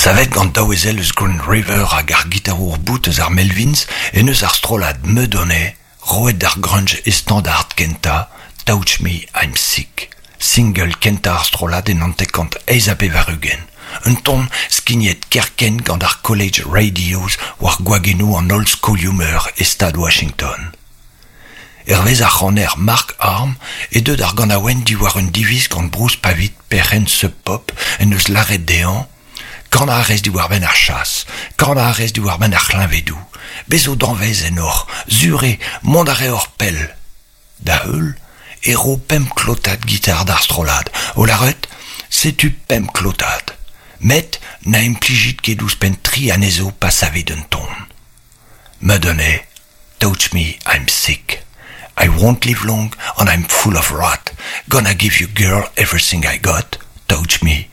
Savet gant daou ezel eus Green River hag ar gitarour bout eus ar Melvins en deus ar strollad Mudhoney roet d'ar grunge e standard kentañ, Touch Me, I'm Sick, single kentañ ar strollad en 98. Un ton skignet kerkent gant ar college radios war gwagennoù an holl skolioù-meur e stad Washington. Hervez ar c'haner Mark Arm eo deuet ar ganaouenn diwar un diviz gant Bruce Pavitt, perc'henn Sub Pop, en deus lâret dezhañ Kanañ a rez diwar-benn ar chas, kanañ a rez diwar-benn ar c'hleñvedoù. Bez zo danvez ennoc'h, sur eo, mont a reoc'h pell. Da heul e ro pemp klotad gitar d'ar strollad, o lâret Setu pemp klotad. Met na implijit ket ouzhpenn tri anezho pa savit un ton. Madonna, touch me, I'm sick. I won't live long and I'm full of rot. Gonna give you girl everything I got. Touch me,